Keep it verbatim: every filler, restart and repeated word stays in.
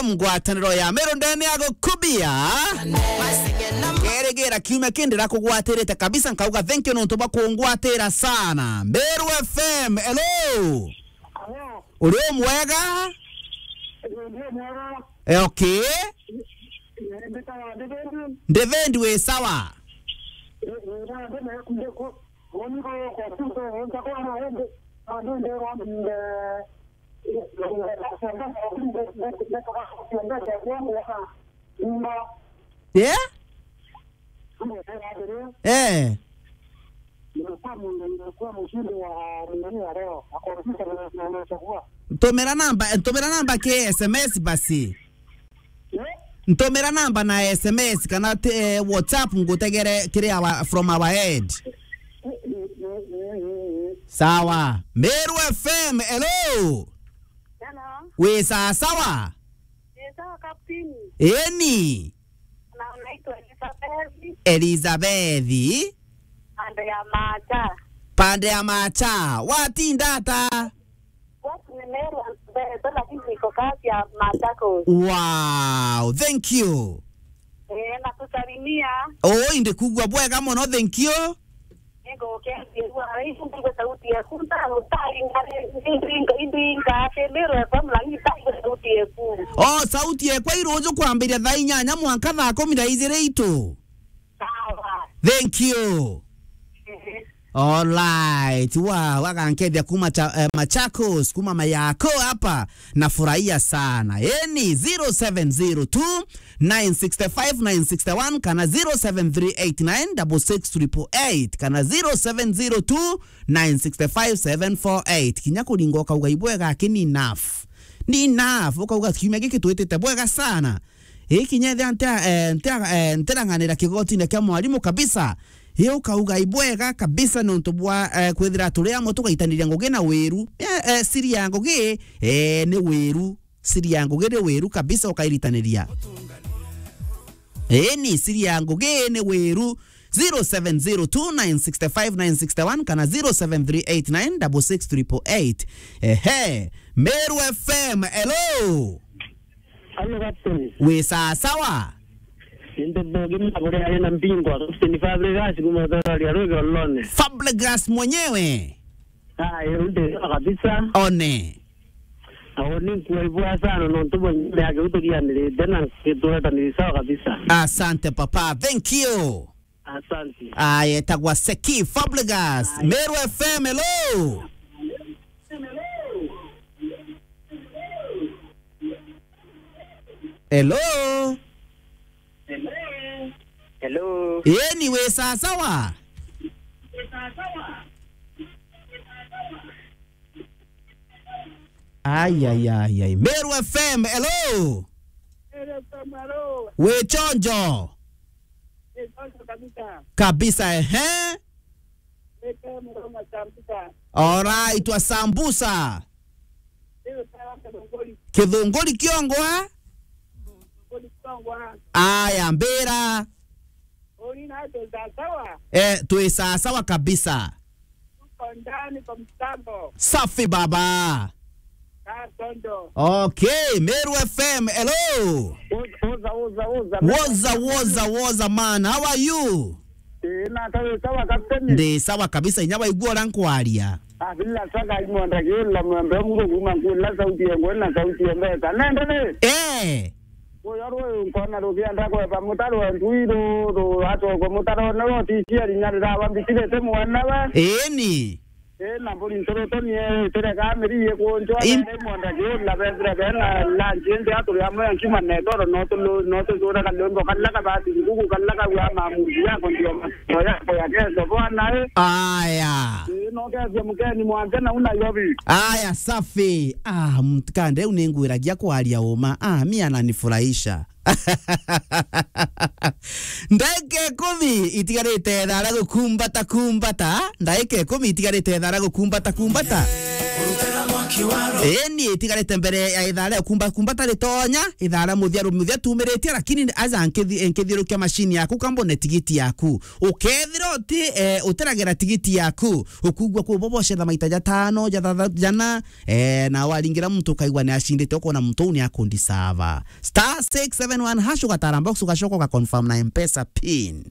Ngwataniro ya Meru ndene ya gukubia. Kerigira kiumia kindi ndakugwatirite kabisa, nkauga thank you nontu bwa kungwatira sana. Meru F M, hello. Uri umwega? Eh, okay. Ndivendi, wi sawa? Yeah? Eh. Ntumira namba, ntumira namba ki S M S basi. Ntumira namba na S M S kana te-, eh, WhatsApp ngutegere kiri our, from our head. Sawa. Meru F M, hello. Hello. Wi sawa sawa? Ni sawa, Captain. Eni. Na unaitwa Elizabeth. Elizabeth. Pande ya Macha. Pande ya Macha. Watinda ata? Watu ni Meru Elizabeth, lakini niko kazi ya Machakos. Wow, thank you. Eh, nakusalimia. Oh, indi kugua bwega mono, thank you. Ego, ukiambirua, hii ndio sauti ya kunda, utari ngare, indi, indi, indi, ngate, Meru F M, lakini sauti ya kuu. Oh, sauti ya kwa iruju kwambiria thaa inyanya mwanka thaa kumi na ijiri itu. Sawa. Thank you. Ehe. All right. Wa, wagankethia kuma cha, eh, Machakos, kuma Mayako hapa. Nafurahia sana. Eni, zero seven zero two, nine six five, nine six one kana zero seven three eight nine double six triple eight kana zero seven zero two, nine six five, seven four eight. Kinya kuringa ukauga ibwega aki ni enough. Ni enough. Ukauga kiumia giki twitite bwega sana. Ii kinya ethia ntia, eh, ntia, eh, ntirang'anira kigotine kia mwarimu kabisa. Ii ukauga ibwega kabisa nontu bwa, eh, kwithira turi amwe tugaitaniria ngugi na wiru. Eh, eh, siri ya ngugi, eh, ni wiru. Siri ya ngugi ni wiru kabisa ukairitaniria. Ii ni siri ya ngugi ni wiru. Zero seven zero two nine six five nine six one kana zero seven three eight nine double six triple eight. Ehe. Meru F M, hello. Hello, Captain. Wi sawa sawa? Ninde bogi mabure ari na mbingwa, Captain Fabregas kuma Thorari ya Rwege Olone. Fabregas mwenyewe? Ah, yeye nde sawa kabisa. One. Aoni nkuwa ibwa sana, nontu bo nyumba yake uturianirite na ngitureta ni sawa kabisa. Asante papa, thank you. Asante. Aya, etagwa Seki Fabregas. Meru F M, hello. Hello. Hello. Eni, wi sawa sawa? Ai, ai, ai, ai. Meru F M, hello. Meru F M, hello. Wi chonjo? Wi chonjo kabisa. Kabisa, ehe. Wi chonjo kama sambusa. Alright, wa sambusa. Wi chonjo kama sambusa. Kithunguri kiongwa? Kithunguri kiongwa. Aya, mbira. Uri na twi sawa sawa? Eh, twi sawa sawa kabisa. Tuko ndani kwa mtambo. Safi baba. Kaa tondo. Okay, Meru F M, hello. Woza, woza, woza, woza. Woza, woza, woza, man. How are you? Eh, na tawe sawa kapteni. Ndi sawa kabisa, inya waigua uria nkwaria. Ah, bila shaka, imwenda kiula mwembe mungu kuma nkula sauti ya ngwena sauti ya mbeta. Nende ni? Eh. Uyo rwi nkona rukienda kweba mutaro wa ntui ru, ru atogwe mutaro ne wo ticiari nyarira wa mbitirite mwana we. Eni. Ii, na mburi nturutu nie tirega miri ikunjwa. Im- bere mwenda kiula bethire bena lunch indi aturi amwe nkima netoro no tu, no tucura kalwimbo kala kabati ngugu kala kagwa mamuzi yako ndio mato yako ya keso bwana, eh. Aya. Ii, no kethia mukeni mwanje na una yobi. Aya, safi. Ah, mtikande u ningwiragia kwaria uma. Ah, mi ananifurahisha. Ndagika ikumi itigarite thaa ria gukumbata kumbata. Ndagika ikumi itigarite thaa ria gukumbata kumbata. Eni itigarite mbere ya ithaa ria kumba kumba tari tonya, ithaa ria muthia ru-, muthia tumiritie, lakini aja nkithi-, nkithiurukia machine yaku kambone tigiti yaku. Ukethira uti, eh, utiragira tigiti yaku, ukugua kuu bobo cetha maita jatano, jathatha-, jana, eh, na waringira muntu ukaigua ni acindite, ukona muntu uu ni akundisava. Star six seven one hash ugatara box ugacoka ugaconfirm na M-Pesa pin.